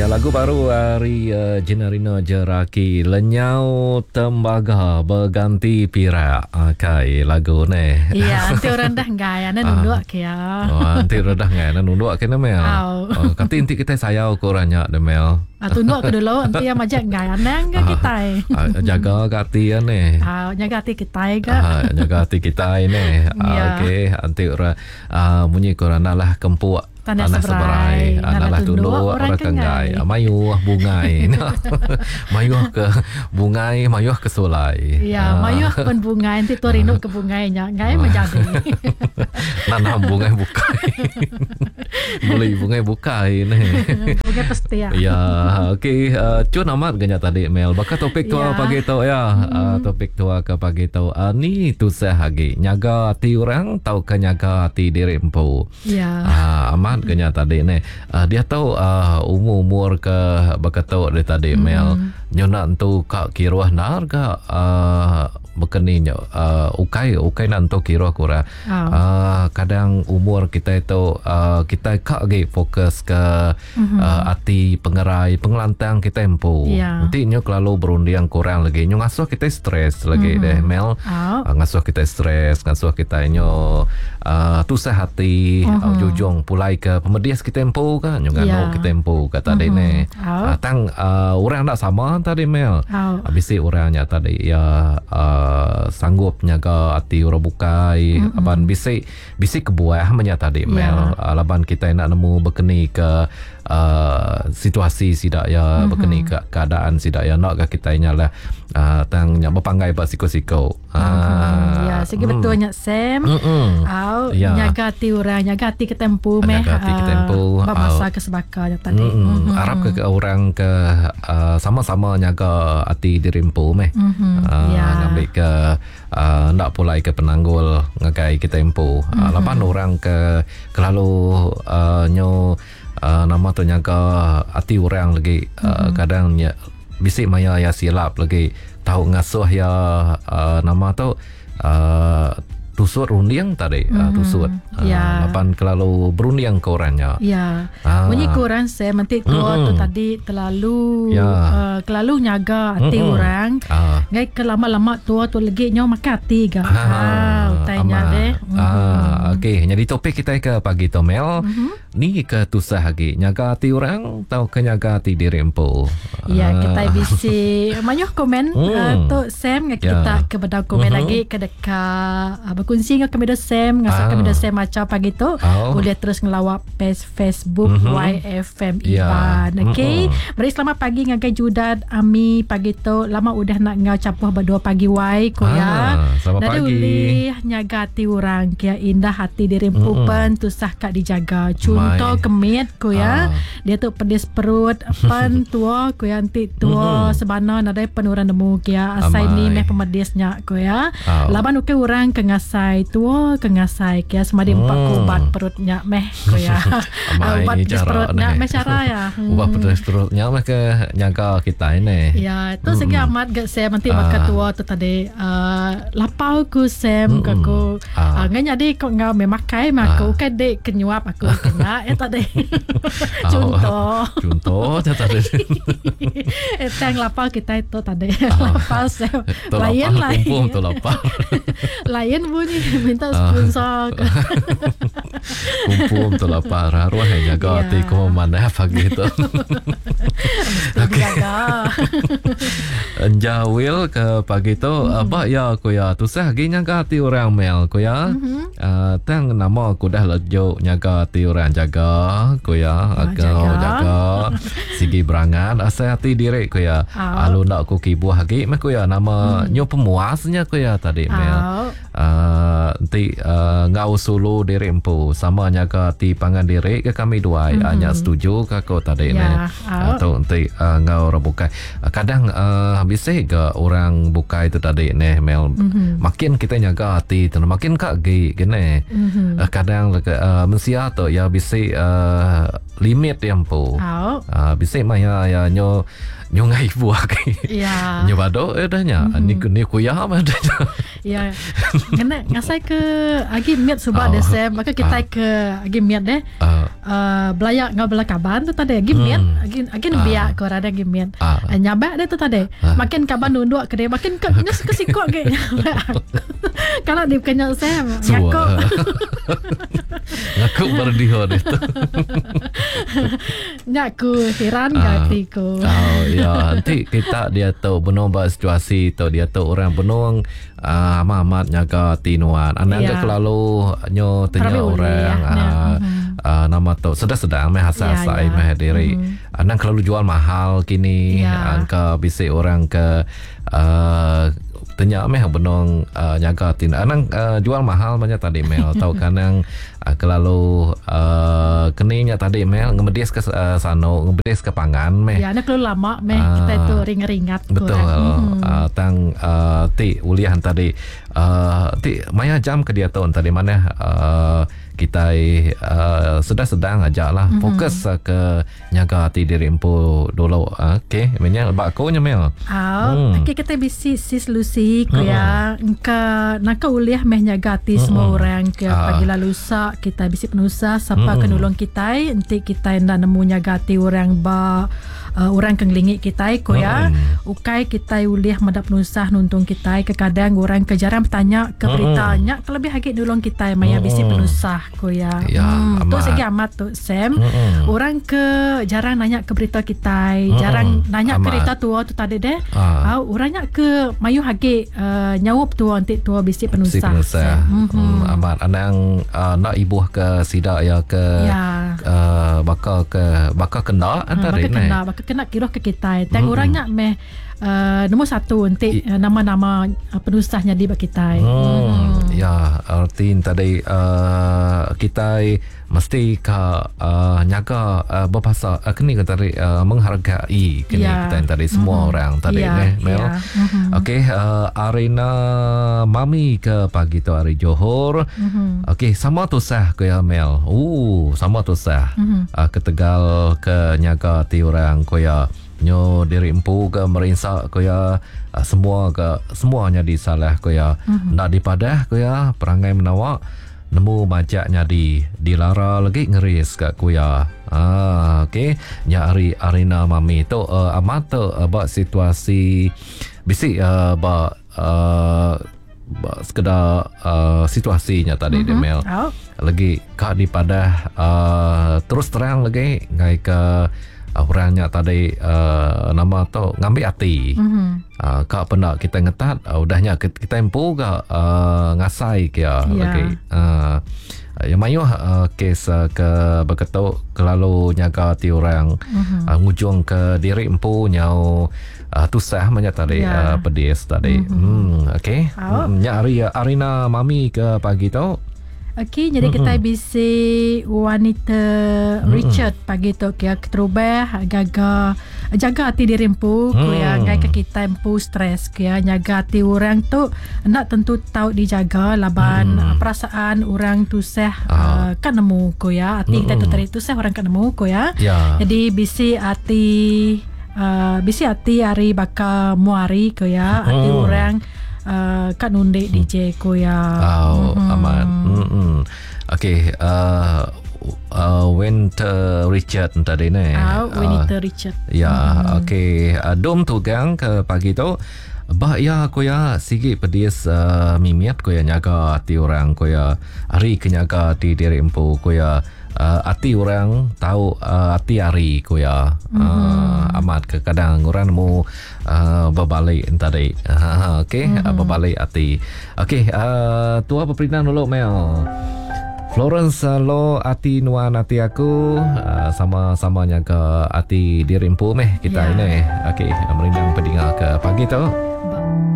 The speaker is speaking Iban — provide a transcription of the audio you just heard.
Ya lagu baru ari uh, Jenarina Jeraki Lenyau Tembaga Berganti Pirak. Akai lagu ni. Ya, enti orang dah enggai ane nunduk ke ya. Oh, enti orang dah enggai ane nunduk ke ne Mel. Oh, kati enti kitai sayau ke orang nya ne Mel. Ah, tunduk ke dulu enti iya majak enggai anang ga kitai. Ah, jaga ga ati iya ne. Ah, nyaga ati kitai ga. Ah, nyaga ati kitai ne. Ah, okey, enti orang ah, munyi ke orang nalah kempuk Tanah seberai, Tanah tunduk orang ke enggai. Mayuh bungai. Mayuh ke bungai, mayuh ke sulai. Ya, mayuh pun bungai enti tua rindu ke bungai nya, enggai meh jadi. Nanam bungai bukai. Beli bungai bukai neh. Bungai pestia. Ya, okey, cun amat ga nya tadi Mel. Baka topik tua pagi tu ya. Topik tua ke pagi tu ni tusah agi nyaga ati orang tauka nyaga ati diri empu. Ya. Ah, amat ke nya tadi neh. Ah, diatu ah, umur-umur ke baka tu dia tadi mm-hmm. Mel. Nyu nak entu ka kiruh ndar ga ah, baka ni nyu ah, ukai ukai nak entu kiruh ku orang. Oh. Ah, kadang umur kitai tu ah, kitai ka agi fokus ke mm-hmm. ah, ati pengerai pengelantang kitai empu. Ya. Enti nyu kelalu berunding ke orang lagi nyu ngasuh kitai stres lagi mm-hmm. deh Mel. Oh. Uh, ngasuh kitai stres, ngasuh kitai nyu uh, tusah ati, uh-huh. uh, ujung pulai ke pemedis kitai empu ka nyu nganu yeah. kitai empu ka tadi uh-huh. ne. Oh. Uh, tang uh, orang enda sama tadi Mel. Oh. Uh, bisi orang nya tadi ya uh, sanggup nyaga ati orang bukai uh-huh. laban bisi Bisi kebuah menya tadi Mel yeah. laban kitai enda nemu bekeni ke uh, situasi sida ya mm-hmm. bekeni ke keadaan sida ya enda ga kitai nya lah uh, tang nya bepanggai ba siko-siko. Mm-hmm. Uh, ya sigi mm. betul nya Sam. Mm-mm. Au Ya. nyaga ati orang, nyaga ati kita empu meh. Nyaga ati kita empu. Ba masa ke sebaka nya tadi. Mm-mm. Arap ke orang ke uh, sama-sama nyaga ati diri empu meh. Mm-hmm. Uh, Ya. ngambi ke enda pulai ke penanggul ngagai kitai empu. Mm-hmm. Laban orang ke kelalu uh, nyu uh, nama tu nyaga ati orang lagi uh, mm-hmm. kadang nya bisi maya iya silap lagi tau ngasuh iya uh, nama tu uh, tusut runding tadi mm-hmm. uh, tusut uh, yeah. laban kelalu berunding ke orang nya ya Ah. munyi ku orang saya menti tua Mm-mm. tu tadi terlalu Ya. uh, kelalu nyaga ati Mm-mm. orang Ah. ngai ke lama-lama tua tu legi nyau makai ati ga ah utai nya amat. deh Ah, okey. Jadi topik kita ke pagi tu Mel, Mm-hmm. ni ke tusah agi nyaga ati orang tau ke nyaga ati diri empu. Ya, Ah. kita bisi mayuh komen Hmm. uh, tu Sam dengan Ya. kita ke bedau komen Mhm. lagi ke deka uh, berkongsi dengan kami dah Sam ngasa Ah. kami dah Sam maca pagi tu Oh. boleh terus ngelawak page Facebook Mhm. YFM Ya. Iban. Okey. Mm-mm. Meri selamat pagi ngagai Judat Ami pagi tu lama udah nak ngau capuh berdua pagi Y ko ya. Ah, selamat Dari pagi. ulih nyaga hati orang kia indah hati diri empu Mm-mm. pen tusah kak dijaga. Contoh Mai. kemit ko ya. Ah. Dia tu pedis perut pen tua ku ya anti tua Mm-mm. sebana nadai pen orang nemu kia asai ni Amai. meh pemedisnya ku ya. Au. Laban ukai orang ke ngasai tua ke ngasai kia semadi empat Hmm. ku ubat perutnya meh ku ya. Amai ubat pedis cara perutnya ni. meh cara ya. Hmm. Ubat pedis perutnya meh ke nyaga kita ini. Ya, tu segi amat gak Sam nanti baka Ah. tua tu tadi uh, lapau ku Sam ke Mm-mm. aku. Ah. Uh, ngan jadi kau ngau me makai mah aku kan dek kenyuap aku kena ya tadi. Contoh. Contoh je tadi. Eh, tang lapau kita itu tadi. Lapau Sam. Tu Lain lapar, lain. Kumpul tu lapar. Lain bunyi minta Ah. sponsor ke. Kumpul tu lapar. Arwah yang jaga Ya. hati ku mana pagi tu. Mesti dijaga. Jawil ke pagi tu mm-hmm. apa ya aku ya tusah lagi nyaga hati orang mel aku ya. Mm-hmm. Uh, tang nama aku dah lejuk nyaga hati orang jaga aku ya Ah, aku jaga. jaga sigi berangan asal hati diri aku ya. Ah. Alu nak aku kibuh lagi meh aku ya nama mm. nyo pemuasnya aku ya tadi mel. Ah. Uh, nanti uh, ngau sulu diri empu sama nyaga hati pangan diri ke kami dua mm-hmm. uh, setuju ke aku tadi Ya, ni ah. atau nanti uh, ngau orang bukai uh, kadang uh, bisa ke orang bukai tu tadi ni Mel mm-hmm. makin kita nyaga hati tu makin kak gi gini Mhm. mm-hmm. uh, kadang uh, mensia tu ya bisa uh, limit dia empu. Au. Bisi maya ya nyo nyungai buah ke. Ya. Nyo bado ya dah nya. Ni ni kuya mah dah nya. Ya. Ngena ngasai ke agi miat suba deh Sam. Maka kita ke agi miat deh. Belayak ngau bela kaban tu tadi agi miat agi agi nembiak ko ada agi miat. Nyabak dia tu tadi. Makin kaban nunduk ke dia makin ke nyes ke sikok ke nyabak. Kalau di kenya Sam ngaku. Ngaku berdiho dia tu. Nyaku heran uh, hatiku. Oh ya, nanti kita dia tu benung ba situasi tu dia tu orang benung amat-amat nyaga ati nuan. Anang ke kelalu nyo tanya orang nama tu sedang-sedang meh asai-asai meh diri. Anang kelalu jual mahal kini angka bisi orang ke tanya meh benung nyaga ati. Anang jual mahal banyak tadi Mel atau kanang kelalu keninya tadi Mel ngemedis ke sano ngemedis ke pangan meh. Ya, nak kelalu lama meh kita tu ringat-ringat. Betul. Tang ti ulihan tadi ti maya jam ke dia tu tadi mana kita sedang-sedang aja lah fokus ke nyaga hati diri empu dulu. Okey, menya bak aku nya Mel. Okey, kita bisi sis Lucy ku ya engka naka uliah meh nyaga hati semua orang ke pagi lalu lusa kita bisi penusah siapa ke nulung kita enti kita nda nemu nyaga hati orang ba orang ke ngelingi kita ku ya. Ukai kita uliah meda penusah nuntung kita kekadang orang ke jarang bertanya ke berita nya kelebih agi nulung kita maya bisi penusah ku ya. Tu segi amat tu Sam. Orang ke jarang nanya ke berita kita, jarang nanya ke berita tua tu tadi deh. Orangnya ke mayuh agi nyaup tua nanti tua bisi penusah. Amat anang nak ibuh ke sida ya ke baka ke baka kena antara ni. Baka kena kiruh ke kita. Tang orangnya meh nombor satu nanti nama-nama penusahnya di bagi kita. Ya, arti tadi kita mesti ke nyaga berbahasa kini kan tadi menghargai kini kita tadi semua orang tadi neh Mel. Okey, Arena Mami ke pagi tu hari Johor. Okey, sama tusah ke ya Mel. Sama tusah. Ketegal ke nyaga ti orang ko ya nyo diri empu ke merinsa ko ya semua ke semuanya disalah ko ya. Nak dipadah ko ya perangai menawak nemu majak nyadi dilara lagi ngeris kat kuya. Okey, nya hari Arena Mami tu amat tu ba situasi bisi ba sekedar situasinya tadi dia Mel. Lagi kak dipadah terus terang lagi ngai ke orangnya tadi nama tu ngambil hati. Kak pernah kita ngetat udahnya kita empu ke ngasai ke lagi. Yang mayuh kes ke berketuk kelalu nyaga ti orang ngujung ke diri empu nyau tusah banyak tadi pedis tadi. Okey. Nya hari Arina Mami ke pagi tu. Okey, jadi kita bisi wanita Richard pagi tu kia keterubah gaga jaga hati diri empu ku ya ngai ke kita empu stres kia nyaga hati orang tu nak tentu tahu dijaga laban perasaan orang tusah kan nemu ku ya hati kita tu tadi tusah orang kan nemu ku ya. Jadi bisi hati bisi hati hari baka muari ku ya hati orang kat nundik DJ ku ya. Amat. Okey, Winter Richard tadi ni. Winter Richard. Ya, okey, dom tugang ke pagi tu. Bah ya aku ya sigi pedis mimiat ku ya nyaga hati orang ku ya hari ke nyaga hati diri empu ku ya hati orang tahu hati hari ku ya. Amat ke kadang orang nemu berbalik tadi. Okey, berbalik hati. Okey, tua berperindang dulu Mel. Florence lo hati nuan hati aku sama-sama nyaga hati diri empu meh kita ini. Okey, merindang pendengar ke pagi tu.